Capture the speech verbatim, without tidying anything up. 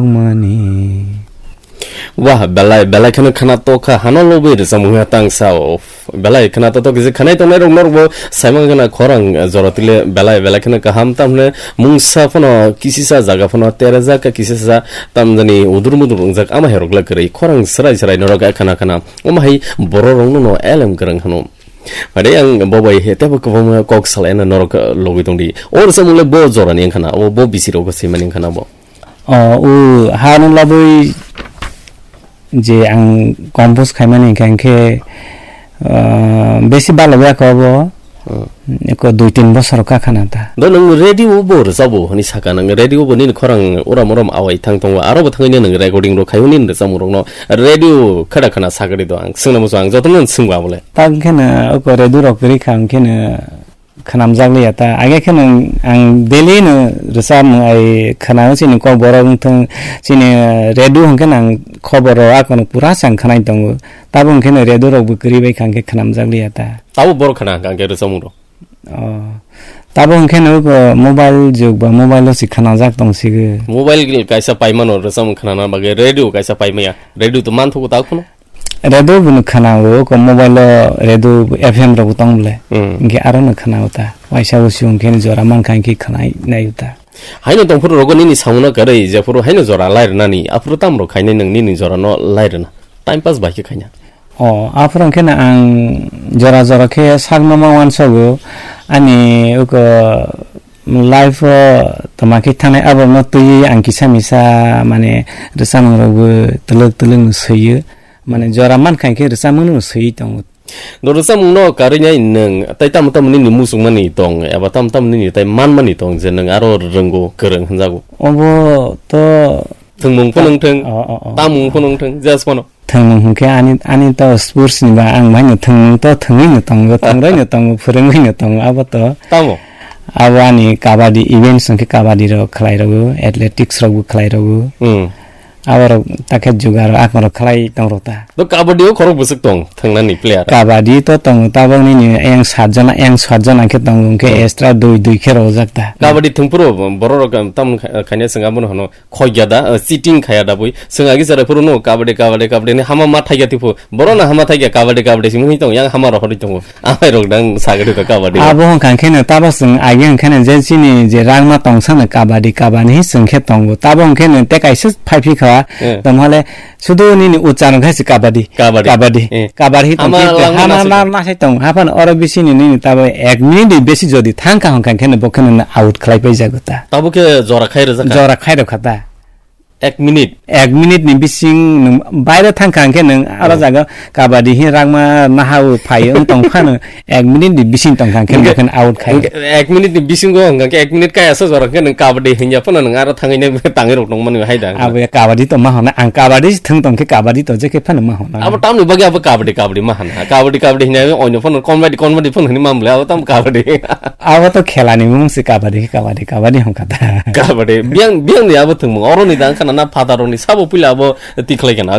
Mani. Wah, belai, belai kheno khana tokha, hano lobwi rwchapmung ya tang sao. Belai khana to tokha, je khanai tongnai rok norok bo saimang khana khorang jora tile belai, belai kheno kaham tamne mungsa phano kisisa jaga phano terajak ka kisisa tamjani udur mudur wngjak ama herok le kwrwi khorang srai srai norok khana khana. Omo hai borok rok no elem kwrwng hano. Mare ang bo bai he tebo kwbangma kok salaina norok logwi tongdi. O rwchapmung le bo jorani wngkhana, o bo bisi rok simani wngkhana bo. O, o, hano labwi je ang compose khaimani hingkha hingkhe, ah, besi balo ya ko bo. Hmm. Eko dui tin bosor ka khana ta. Do nwng radio bo rwchabo hwnwi saka, nwng radio bo nini khorang uram uram awai thang tongo, aro bo thangwi nwng recording rok khai hwnwi rwchapmung rokno radio khada khana sagri do ang. Swngna muchung ang jotono swngba bole. Ta hingkhe no oko radio rok kwrwi kha hingkhe no khanamjak liya ta. Age khe no ang daily no rwchapmung ai khanao chini kok borok wngthang chini radio hingkhe no ang khobor rok akono pura chang khanai tongo. Tabo hingkhe no radio rok bo kwrwi bai kha hingkhe khanamjak liya ta. Tabo borok khana hingkha hingkhe rwchapmung rok. Oh. Tabo hingkhe no oko mobile jug ba mobile o si khanajak tong sigo. Mobile kaisa paimano rwchapmung khanana bagwi radio kaisa paimaya. Radio to manthogo ta kheno. Radio bo no khana o, ko mobile o radio F M rok tong bole. Hmm. Hingke aro no khana o ta. Waisa o siyong khe jora man kha hingke khana nai o ta. Haino tongphuru rogo nini samung no kwrwi, jephuru haino jora lai rwnani, aphuru tamo rok khainai nwng nini jora no lai rwna. Time pass bai khe khaina. O, aphuru hingke no ang jora jora khe sak no ma wansago. Ani uko life o toma khe thanai abo no twiwi ang kisa misa mane rwchapmung rok bo twlwk twlwk no swiyo. Mane jora mankha khe rwchapmung no swiwi tongo. Do rwchapmung no karwi nai nwng tai tamo tamo nini muchungmani tong eba tamo tamo nini tai manmani tong je nwng aro rwngo kwrwng hwnjago. Obo to Thwngmung phunung thwng, o, o, o. Tamung phunung thwng, just phano. Thwngmung hwnkhe ani, ani to sports ni ba ang baino thwngmung to thwngwi no tongo, thwngroi no tongo, phwrwngwi no tongo, abo to. Tamo? Abo ani kabaddi events hwnkhe kabaddi rok khlai rwo, athletics rok bo khlai rwo. Hmm. Aborok takhe jugar akorok khlai tong rota. To kabaddi o khorok bwswk tong thwngnani player? Kabaddi to tongo tabok nini yang satjona, yang satjona khe tongo, hwnkhe hmm, extra dui dui khe rojak ta. Kabaddi thwngphuru borok rok tam khaina swng abono hano khoiya da, cheating khaya da bui. Swng agi chara phuru no kabaddi, kabaddi, kabaddi ni hama ma thaiya tipo. Borok no hama thaiya kabaddi, kabaddi simi tong yang hama rohorwi tongo. Amai rok dang sagri ka kabaddi. Abo hwnkha khe no tabo swng agi hwnkha no je chini je rangma tongsa no kabaddi, kabaddi hi swng khe tongo. Tabo hwnkhe no te kaisa phai phi kha. Eh. Tamo hale sudu nini ucharong khe se kabaddi. Kabaddi. Kabaddi. Eh. Kabaddi hi tong hama khe langma hama nasi ma, tong. Ma sai tong. Hapan oro bisi ni nini tabo ek minute besi jodi thang kha hwnkha khe no bo khe no out khlai pai jago ta. Tabo khe jora khai rwjak kha. Jora khai rwkha ta. Ek minute. Ek minute ni bising nwng baire thang kha hwnkhe nwng aro oh, jaga kabaddi hi rangma naha o phai wng tong phano ek minute ni bising tong kha hwnkhe hwnkhe, bo khe out khai. Hwnkhe ek minute ni bisingo hwnkhe ek minute kaya sa jora hwnkhe nwng kabaddi hinya phano nwng aro thangwi nai tangwi rok tong mani hai da. Abo ya kabaddi to ma hona ang kabaddi thwng tong khe kabaddi to je khe phano ma hona. Abo tamni bagwi abo kabaddi kabaddi ma hana. Kabaddi kabaddi hinya oino phano comedy comedy phano hini mamle abo tam kabaddi. Abo to khela ni mung se kabaddi kabaddi kabaddi hwnkha ta. Kabaddi biyang biyang ni abo thwngmung oro ni dang khana na phataro ni sabo puila abo tikhlai kana.